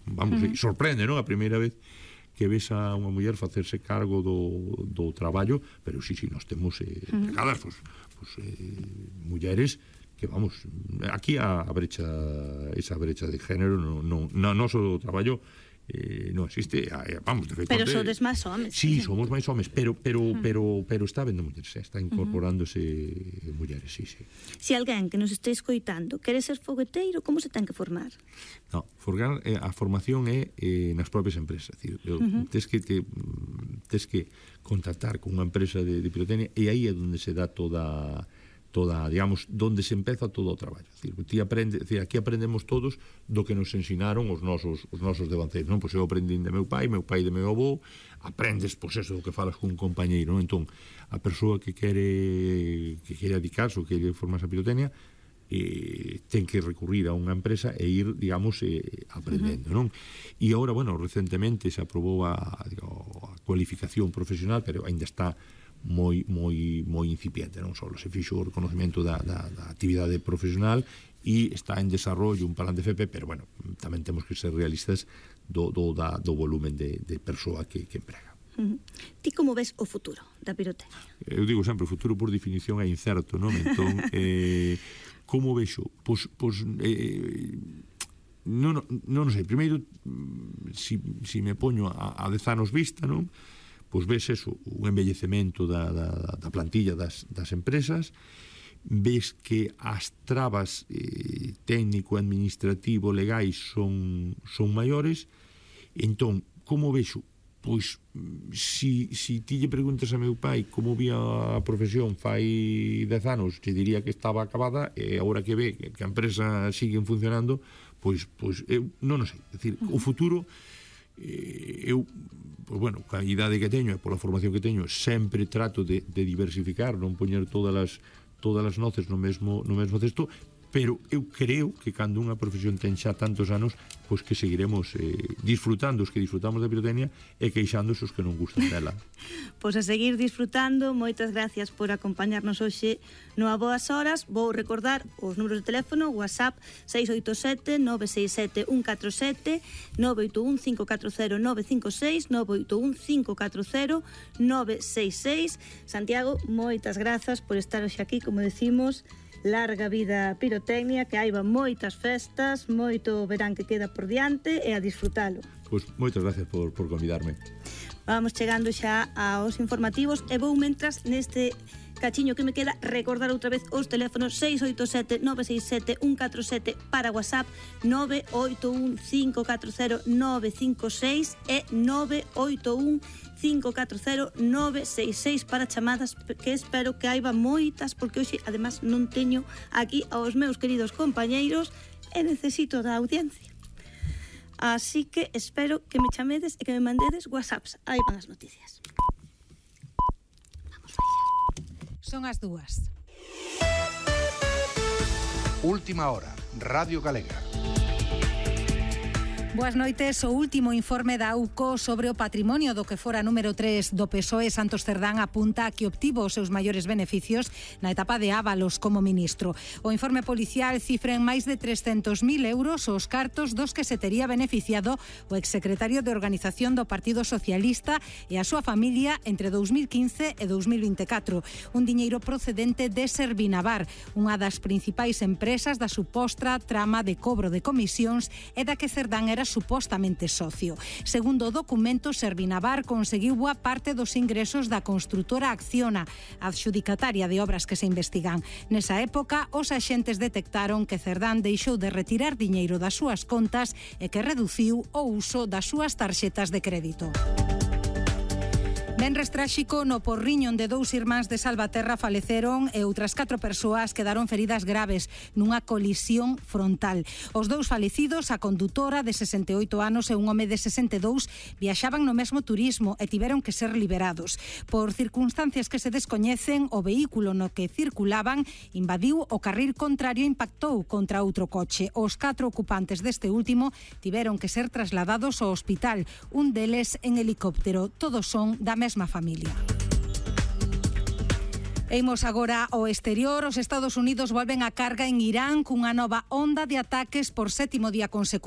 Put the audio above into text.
vamos, sorprende, non? A primeira vez que ves a unha muller facerse cargo do traballo, pero nós temos empregadas, mulleres que, vamos, aquí esa brecha de género no noso traballo non existe, vamos, de feito. Pero sodes máis homes. Sí, somos máis homes, pero está vendo mulleres, está incorporándose mulleres, sí. Se alguén que nos este escoitando quere ser fogueteiro, como se ten que formar? No, a formación é nas propias empresas, tes que contactar con unha empresa de pirotecnia, e aí é onde se dá toda, digamos, donde se empeza todo o traballo. Aquí aprendemos todos do que nos ensinaron os nosos devanceiros, non? Pois eu aprendín de meu pai de meu avó, aprendes, pois eso, do que falas con un compañeiro, non? Entón, a persoa que quere dedicarse ou quere formarse a pirotecnia, ten que recurrir a unha empresa e ir, digamos, aprendendo, non? E agora, bueno, recentemente se aprobou a cualificación profesional, pero ainda está moi incipiente, non só se fixo o reconocimento da actividade profesional e está en desarrollo un plan de FP, pero bueno, tamén temos que ser realistas do volumen de persoa que emprega. Ti como ves o futuro da pirotecnia? Eu digo sempre, o futuro por definición é incerto, non? Entón, como vexo? Pois non sei, primeiro, si me poño a 10 anos vista, non? Pois ves eso, un envellecemento da plantilla das empresas, ves que as trabas técnico, administrativo, legais son maiores. Entón, como vexo? Pois, si ti lle preguntas a meu pai como vía a profesión fai 10 anos, te diría que estaba acabada, e agora que ve que a empresa siguen funcionando, pois eu non sei, é dicir, o futuro, eu, pois bueno, coa idade que teño e pola formación que teño, sempre trato de diversificar, non poñer todas as noces no mesmo cesto, pero eu creo que cando unha profesión ten xa tantos anos, pois que seguiremos disfrutando os que disfrutamos da pirotecnia e queixándose os que non gustan dela. Pois a seguir disfrutando. Moitas gracias por acompañarnos hoxe no A Boas Horas. Vou recordar os números de teléfono: WhatsApp 687 967 147, 981 540 956, 981 540 966. Santiago, moitas grazas por estar hoxe aquí, como decimos. Larga vida pirotecnia, que haiba moitas festas, moito verán que queda por diante, e a disfrutalo. Pois moitas gracias por convidarme. Vamos chegando xa aos informativos e vou, mentras, neste cachiño que me queda, recordar outra vez os teléfonos: 687 967 147 para WhatsApp, 981 540 956 e 981 540 966 para chamadas, que espero que haiba moitas, porque hoxe además non teño aquí aos meus queridos compañeiros e necesito da audiencia. Así que espero que me chamedes e que me mandedes WhatsApps. Aí van as noticias. Vamos allá. Son as 2. Última hora, Radio Galega. Boas noites. O último informe da AUCO sobre o patrimonio do que fora número 3 do PSOE, Santos Cerdán, apunta a que obtivo os seus maiores beneficios na etapa de Ábalos como ministro. O informe policial cifra en máis de 300.000 euros os cartos dos que se tería beneficiado o exsecretario de Organización do Partido Socialista e a súa familia entre 2015 e 2024. Un diñeiro procedente de Servinavar, unha das principais empresas da suposta trama de cobro de comisións e da que Cerdán era supostamente socio. Segundo o documento, Servinavar conseguiu boa parte dos ingresos da construtora Acciona, adxudicataria de obras que se investigan. Nesa época, os axentes detectaron que Cerdán deixou de retirar diñeiro das súas contas e que reduciu o uso das súas tarxetas de crédito. Venres tráxico no Porriño, onde 2 irmáns de Salvaterra faleceron e outras 4 persoas quedaron feridas graves nunha colisión frontal. Os 2 falecidos, a condutora de 68 anos e un home de 62, viaxaban no mesmo turismo e tiveron que ser liberados. Por circunstancias que se descoñecen, o vehículo no que circulaban invadiu o carril contrario e impactou contra outro coche. Os 4 ocupantes deste último tiveron que ser trasladados ao hospital, un deles en helicóptero. Todos son da mesma familia. Imos agora ao exterior. Os Estados Unidos volven a carga en Irán cunha nova onda de ataques por 7º día consecutivo.